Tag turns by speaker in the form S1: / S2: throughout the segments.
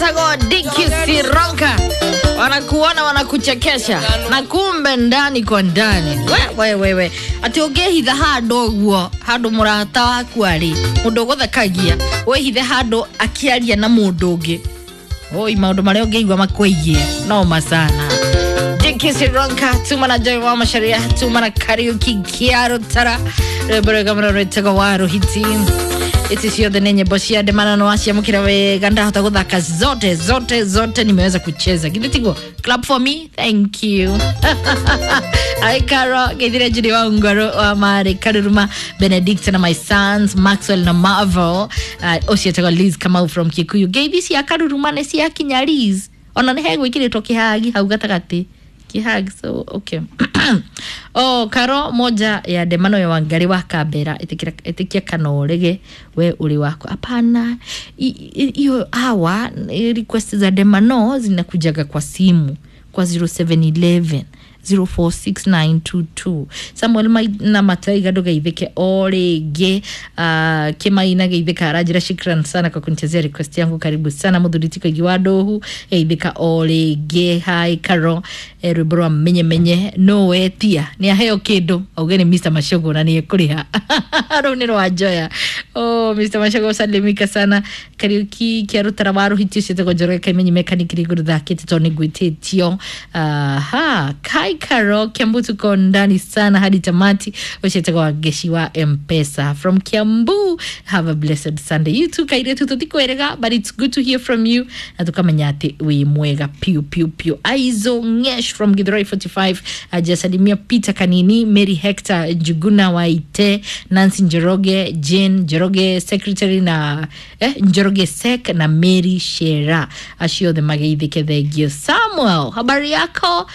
S1: Etagwo Diki Sironka, wanakuona wanakuchekesha na kumbe ndani kwa ndani we we we ati ũngĩhitha handũ ũguo handũ mũrata waku arĩ mũndũ ũgũthekagia wĩhithe handũ akĩaria na mũndũ ũngĩ oi maũndũ marĩa ũngĩigua makwĩgiĩ noma sana. Diki Sironka tuma na Joy wa Macharia tuma na Kariuki Kiarutara rwĩmbo rwega mũno rwĩtagwo wa Ruhiti. Hizi ciothe nĩ nyĩmbo cia ndemana waciamũkĩra wega ndahota gũthaka zote zote zote nimeweza kucheza githĩ tiguo? Clap for me, thank you. Ai Karo geithire Judy wa Ungoro wa Mari Karuruma Benedict na my sons Maxwell na Marvel, ũcio etagwo Liz Kamau from Kikuyu. Ngeithi cia Karuruma nĩ ciakinya Liz, ona nĩ hegwĩkĩrĩtwo kĩhagi hau gatagatĩ kihag, so okay. Oh, Karo moja ya ndemano ya Wangari wa Kambera itikia kana urege we uri wako hapana. Hiyo hawa request za ndemano zinakujaga kwa simu kwa 0711 046922. Samuel na Mataiga ndugeithike o rĩngĩ. Kĩmaina geithĩka aranjĩra shukran sana kwa kunichezea request yangu, karibu sana. Mũthuri ti Koigi wa Ndũhu geithĩka o rĩngĩ. Hi Karo, rwĩmbo rwa menye menye no wetia nĩ aheo kĩndũ auge nĩ Mr Machogo na nĩ ekũrĩha. Rũu nĩ rwa Njoya. Oh, Mr Machogo salimika sana. Kariuki Kĩarutara wa Rũhiti ũcio etagwo Njoroge Kaimenyi mechanic rĩngĩ thakĩte tondũ nĩ ngwĩtĩtio. Aha, Kai Karo Kiambu tuko ndani sana hadi tamati. Ũcio wa Ngeshi wa Mpesa from Kiambu, have a blessed Sunday. You too kairetu tũtikwĩrĩga, but it's good to hear from you na tukamenya atĩ wĩ mwega piu piu piu. Aizo Ngesh from Githurai 45 ajasalimia Peter Kanini, Mary Hector Njuguna Waite, Nancy Njoroge, Jane Njoroge secretary na Njoroge sek na Mary Shera, acio othe mageithĩke. Thengio. Samuel, habari yako?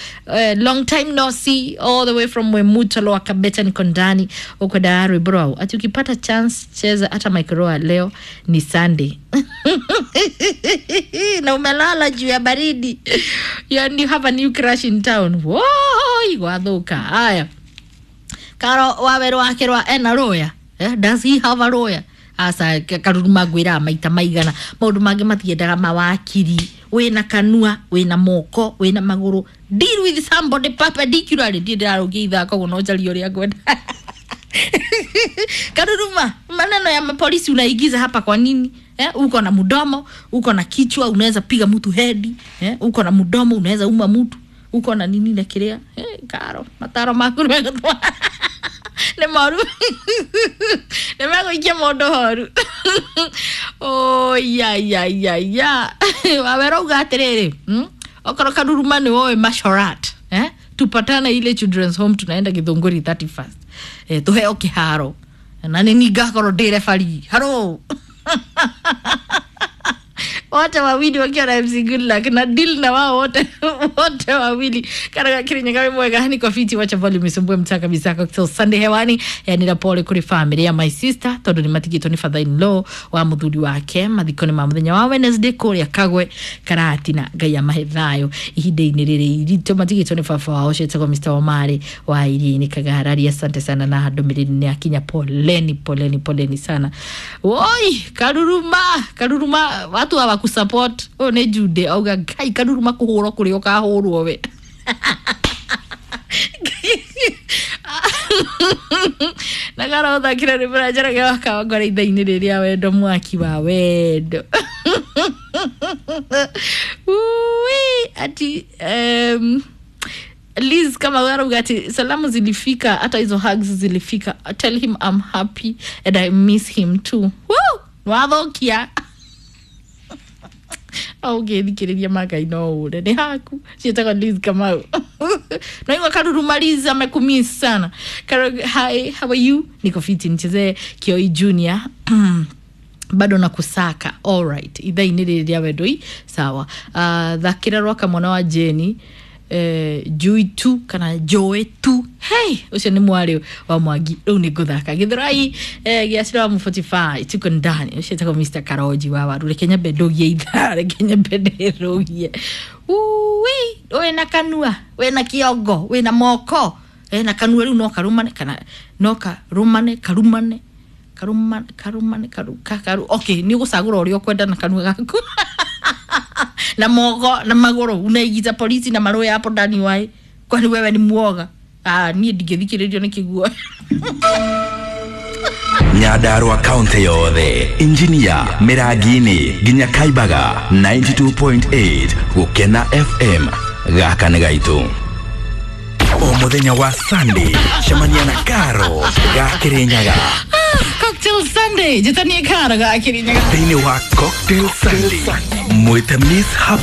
S1: Long time no see, all the way from Mwemuto Lower Kabeta, niko ndani uko rwĩmbo rwau ati ukipata chance cheza hata microa leo ni Sunday na umelala juu ya baridi and you have a new crush in town. Woi, gwathuka haya. Karo waweru wake rwa ena lawyer, does he have a lawyer? Asa Karuruma ngwĩraga maita maigana maũndũ mangĩ matiendaga mawakiri. Wĩna kanua, wĩna moko, wĩna magũrũ, deal with somebody perpendicularly. Ndiĩ ndĩrarũgia ithako koguo no njarie ũrĩa ngwenda. Karuruma, maneno ya mapolisi unaigiza hapa kwa nini? Uko na mdomo, uko na kichwa, unaweza piga mtu hedi, uko na mdomo, unaweza uma mtu, uko na nini na kiria, Karo, mataro maku nĩ nĩ moru nĩ megũikia mũndũ horu. Oh, ya ya ya ya wawera uga atĩrĩrĩ, Okorwo Karuruma nĩ woĩ Mashorat, tupatane ile children's home tunaenda Githunguri 31st, tuheo kĩharo na nĩ ni ngakorwo ndĩ referee haro wote wawili wakiwa na MC Goodluck na deal na wao wote wote wawili. Karaga Kirinyaga wĩ mwega niko fiti, wacha volume isumbue mtaa kabisa. Cocktail Sunday hewani yani na pole kuri family ya my sister tondu ni matigitwo ni father in law wa muthuri wake mathiko-inĩ ma muthenya wa Wednesday kuria Kagwe Karatina. Ngai amahe thayo ihinda-inĩ rĩrĩ iritũ matigitwo nĩ baba wao ũcio etagwo Mr Omari wa Iria-inĩ Kagarari. Asante sana na ndũmĩrĩri nĩ akinya, poleni poleni poleni sana. Woi Karuruma, Karuruma watu hawakusupport. Ũyũ nĩ Jude auga Ngai Karuruma kũhũrwo kũrĩa ũkahũrwo we. Na karothakĩra rwĩmbo rwa Njoroge wa Kawangware ithaa-inĩ rĩrĩa wendo mwaki wa wendo. Ui, ati Liz kama arauga ati salamu zilifika, hata hizo hugs zilifika. Tell him I'm happy and I miss him too. Woo! Wathokia ũngĩthikĩrĩria magai no ũre nĩ haku ciĩtagwo Liz Kamau naigua Karuruma Liz amekumiss sana. Karo, hi, how are you? Niko fiti, nichezee Kioi Junior bado na kusaka. Alright, ithaa-inĩ rĩrĩ rĩa wendoi sawa. Thakĩra rwaka mwana wa Jeni, Jui tu kana Joe tu. Hey, ũcio nĩ mwarĩ wa Mwangi rĩu nĩ ngũthaka Githurai, gĩacĩra wa 45 tuko ndani ũcio etagwo Mr Karoji wa waru. Reke nyambe ndũgie ithaa, reke nyambe ndĩrũgie. Ui, wĩna kanua, wĩna kĩongo, wĩna moko, na kanua rĩu no karumane kana no karumane karumane karumane karumane karu, okay nĩ ũgũcagũra ũrĩa ũkwenda na kanua gaku. Na moko na magũrũ unaingiza polisi na maroya hapo ndani wae, kwani wewe ni muoga? Ah, niĩ ndingĩthikĩrĩrio nĩ kĩguoya.
S2: Nyandarua kaunti yothe, Injinia, Mĩrangi-inĩ nginya Kaibaga, 92.8 Gũkena FM. Gaka nĩ gaitũ. O mũthenya wa Sunday, cemania na Karo ga Kĩrĩnyaga.
S1: Cocktail Sunday, njĩtanie Karo ga Kĩrĩnyaga.
S2: Thĩinĩ wa Cocktail Sunday, mwĩte Miss Happy.